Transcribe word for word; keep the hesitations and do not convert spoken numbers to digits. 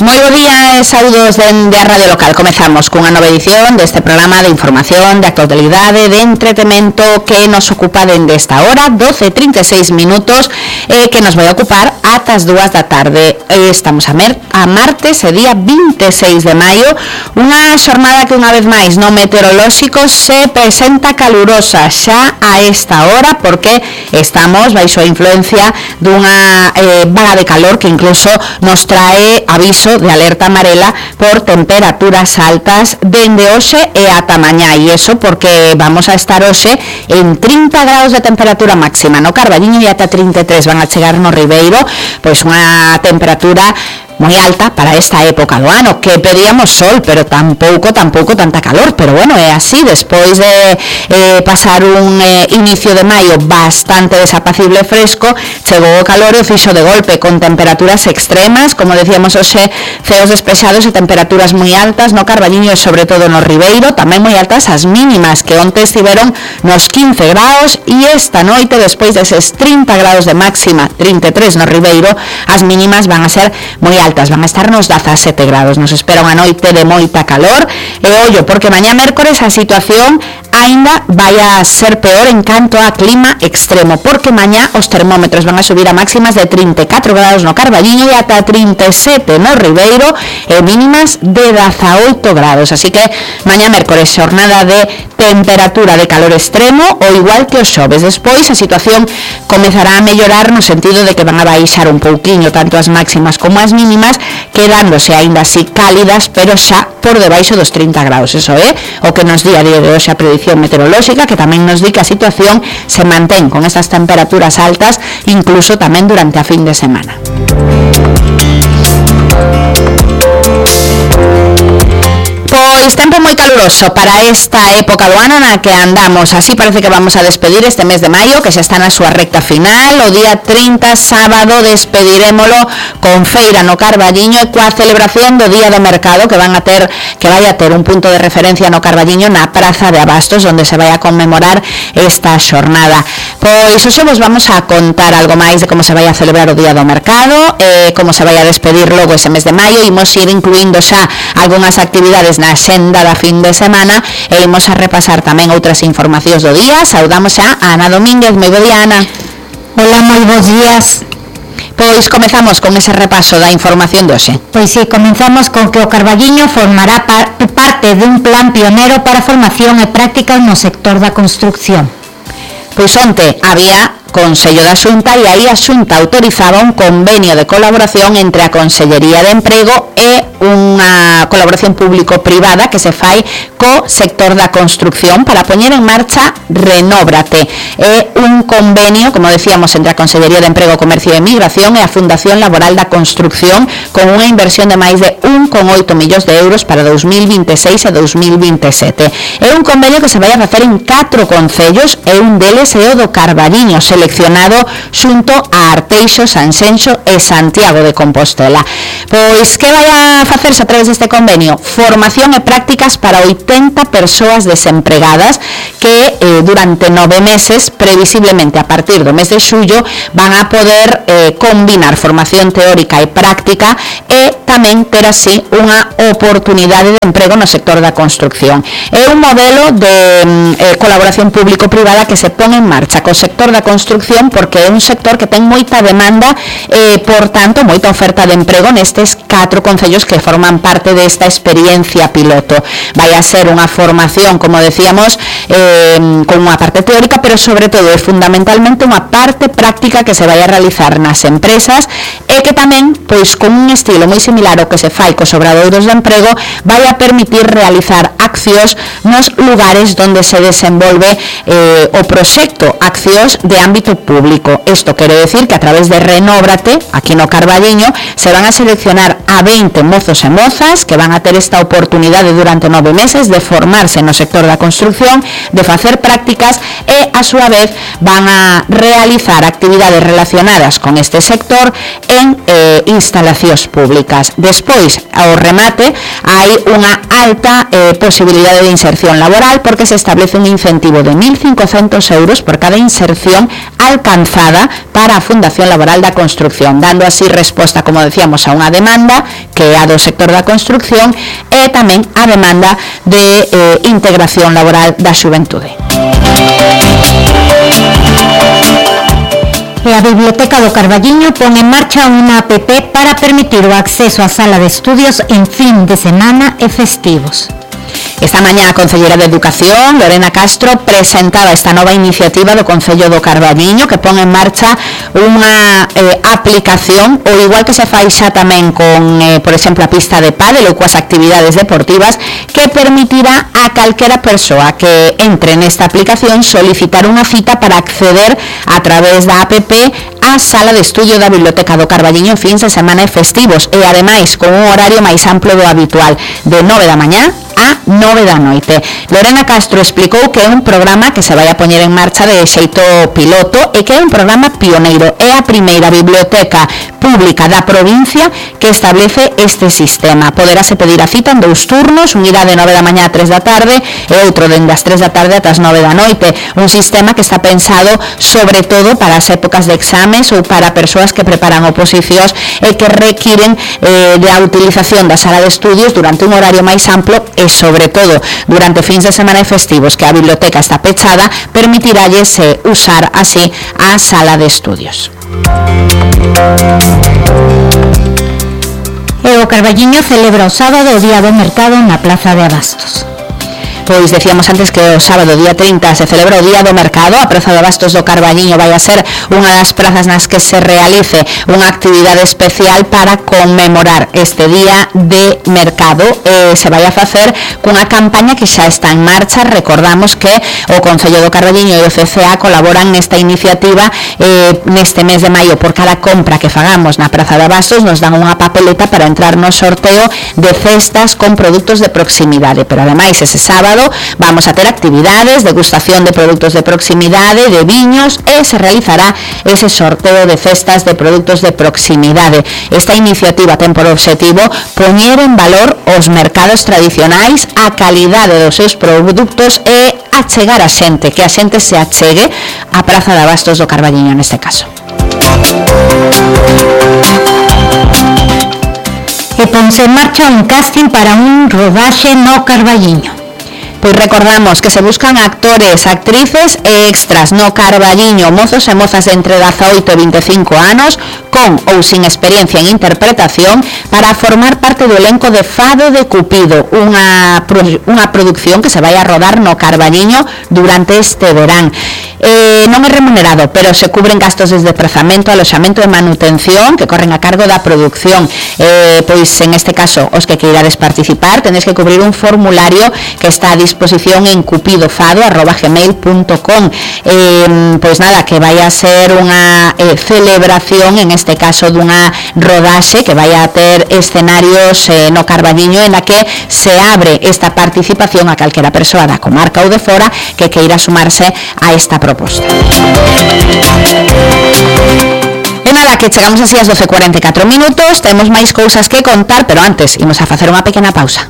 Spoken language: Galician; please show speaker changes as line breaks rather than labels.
Moi bo día e saúdos dende a Radio Local. Comezamos cunha nova edición deste programa de información, de actualidade, de entretemento que nos ocupa dende esta hora, doce e trinta e seis minutos, eh, que nos vai ocupar ata as dúas da tarde. Eh, estamos a, mer a martes, e día vinte e seis de maio, unha xornada que unha vez máis no meteorolóxico se presenta calurosa xa a esta hora, porque estamos baixo a influencia dunha eh, vaga de calor que incluso nos trae aviso de alerta amarela por temperaturas altas dende hoxe e ata mañá, e iso porque vamos a estar hoxe en trinta graus de temperatura máxima no Carballiño e ata trinta e tres van a chegar no Ribeiro, pois unha temperatura moi alta para esta época do ano, que pedíamos sol, pero tampouco, tampouco tanta calor, pero bueno, é así, despois de eh, pasar un eh, inicio de maio bastante desapacible e fresco, chegou o calor e o fixo de golpe, con temperaturas extremas, como decíamos hoxe, ceos despexados e temperaturas moi altas no Carballiño e sobre todo no Ribeiro, tamén moi altas as mínimas, que onte estiveron nos quince graus, e esta noite, despois deses trinta graus de máxima, trinta e tres no Ribeiro, as mínimas van a ser moi altas, van a estar nos dezasete graus. Nos espera unha noite de moita calor e ollo, porque mañá mércores a situación aínda vai a ser peor en canto a clima extremo, porque mañá os termómetros van a subir a máximas de trinta e catro graus no Carballiño e ata trinta e sete no Ribeiro e mínimas de dezaoito graus, así que mañá mércores xornada de temperatura de calor extremo, o igual que os xoves. Despois a situación comezará a mellorar no sentido de que van a baixar un pouquiño tanto as máximas como as mínimas, quedándose aínda así cálidas, pero xa por debaixo dos trinta graus. Eso é o que nos di a día de hoxe a predicción meteorolóxica, que tamén nos di que a situación se mantén con estas temperaturas altas incluso tamén durante a fin de semana. Pois tempo moi caluroso para esta época do ano na que andamos. Así parece que vamos a despedir este mes de maio, que xa está na súa recta final. O día trinta, sábado, despedirémolo con feira no Carballiño e coa celebración do Día do Mercado, que van a ter que vai a ter un punto de referencia no Carballiño na Praza de Abastos, onde se vai a conmemorar esta xornada. Pois hoxe vos vamos a contar algo máis de como se vai a celebrar o Día do Mercado, eh, como se vai a despedir logo ese mes de maio. Imos ir incluindo xa algunhas actividades na xenda da fin de semana e imos a repasar tamén outras informacións do día. Saudamos xa a Ana Domínguez. Moi bo día, Ana.
Hola, moi bons días.
Pois comezamos con ese repaso da información de hoxe.
Pois si, sí, comenzamos con que o Carballiño formará par parte dun plan pionero para formación e prácticas no sector da construcción.
Pois onte había Consello da Xunta e aí a Xunta autorizaba un convenio de colaboración entre a Consellería de Emprego e unha colaboración público-privada que se fai co sector da construcción para poñer en marcha Renóbrate. É un convenio, como decíamos, entre a Consellería de Emprego, Comercio e Migración e a Fundación Laboral da Construcción, con unha inversión de máis de un coma oito millóns de euros para dous mil vinte e seis e dous mil vinte e sete. É un convenio que se vai a facer en catro concellos e un deles é o do Carballiño, seleccionado xunto a Arteixo, Sanxenxo e Santiago de Compostela. Pois que vai a facerse a través deste convenio? Formación e prácticas para oitenta persoas desempregadas que eh, durante nove meses, previsiblemente a partir do mes de xullo, van a poder eh, combinar formación teórica e práctica e tamén ter así unha oportunidade de emprego no sector da construcción. É un modelo de eh, colaboración público-privada que se pon en marcha co sector da construcción porque é un sector que ten moita demanda e, eh, por tanto, moita oferta de emprego nestes catro concellos que forman parte desta experiencia piloto. Vai a ser unha formación, como decíamos, eh, con unha parte teórica, pero sobre todo e fundamentalmente unha parte práctica que se vai a realizar nas empresas e que tamén, pois con un estilo moi similar ao que se fai cos obradoiros de emprego, vai a permitir realizar accións nos lugares onde se desenvolve eh, o proxecto, accións de ámbito público. Isto quere decir que a través de Renóbrate, aquí no Carballiño, se van a seleccionar a veinte mozos e mozas que van a ter esta oportunidade durante nove meses de formarse no sector da construcción, de facer prácticas e, a súa vez, van a realizar actividades relacionadas con este sector en eh, instalacións públicas. Despois, ao remate, hai unha alta eh, posibilidade de inserción laboral porque se establece un incentivo de mil cincocentos euros por cada inserción alcanzada para a Fundación Laboral da Construcción, dando así resposta, como decíamos, a unha demanda que é a do sector da construcción e tamén a demanda de eh, integración laboral da xuventude.
E a Biblioteca do Carballiño pon en marcha unha app para permitir o acceso á sala de estudios en fin de semana e festivos.
Esta mañá a Concelleira de Educación, Lorena Castro, presentaba esta nova iniciativa do Concello do Carballiño que pon en marcha unha eh, aplicación, ou igual que se fai xa tamén con, eh, por exemplo, a pista de pádel ou coas actividades deportivas, que permitirá a calquera persoa que entre nesta aplicación solicitar unha cita para acceder a través da app a sala de estudio da Biblioteca do Carballiño en fins de semana e festivos, e ademais con un horario máis amplo do habitual, de nove da mañá a nove da noite. Lorena Castro explicou que é un programa que se vai a poñer en marcha de xeito piloto e que é un programa pioneiro. É a primeira biblioteca pública da provincia que establece este sistema. Poderase pedir a cita en dous turnos, un irá de nove da mañá a tres da tarde e outro dende as tres da tarde ata as nove da noite. Un sistema que está pensado sobre todo para as épocas de exames ou para persoas que preparan oposicións e que requiren eh, da utilización da sala de estudios durante un horario máis amplo e sobre todo durante fins de semana e festivos que a biblioteca está pechada, permitiralles eh, usar así a sala de estudios.
E o Carballiño celebra o sábado o Día do Mercado na Plaza de Abastos.
Pois decíamos antes que o sábado, día trinta, se celebra o Día do Mercado. A Praza de Abastos do Carballiño vai a ser unha das prazas nas que se realice unha actividade especial para conmemorar este Día de Mercado. Eh, se vai a facer cunha campaña que xa está en marcha. Recordamos que o Concello do Carballiño e o C C A colaboran nesta iniciativa eh, neste mes de maio. Por cada compra que fagamos na Praza de Abastos nos dan unha papeleta para entrar no sorteo de cestas con produtos de proximidade. Pero ademais ese sábado vamos a ter actividades, degustación de produtos de proximidade, de viños, e se realizará ese sorteo de cestas de produtos de proximidade. Esta iniciativa ten por obxectivo poñer en valor os mercados tradicionais, a calidade dos seus produtos e achegar a xente, que a xente se achegue á Praza de Abastos do Carballiño neste caso.
E ponse en marcha un casting para un rodaxe no Carballiño.
Pois recordamos que se buscan actores, actrices e extras no Carballiño, mozos e mozas de entre dezaoito e vinte e cinco anos, con ou sin experiencia en interpretación, para formar parte do elenco de Fado de Cupido, unha, unha produción que se vai a rodar no Carballiño durante este verán. Eh, non é remunerado, pero se cubren gastos de desplazamento, aloxamento e manutención que corren a cargo da produción. Eh, pois en este caso, os que queirades participar, tenéis que cubrir un formulario que está a disposición en cupidofado arroba gmail punto com. Eh, pois nada, que vai a ser unha eh, celebración, en este caso dunha rodaxe que vai a ter escenarios eh, no Carballiño, en la que se abre esta participación a calquera persoa da comarca ou de fora que queira sumarse a esta proposta. E nada, que chegamos así ás doce e cuarenta e catro minutos, temos máis cousas que contar, pero antes imos a facer unha pequena pausa.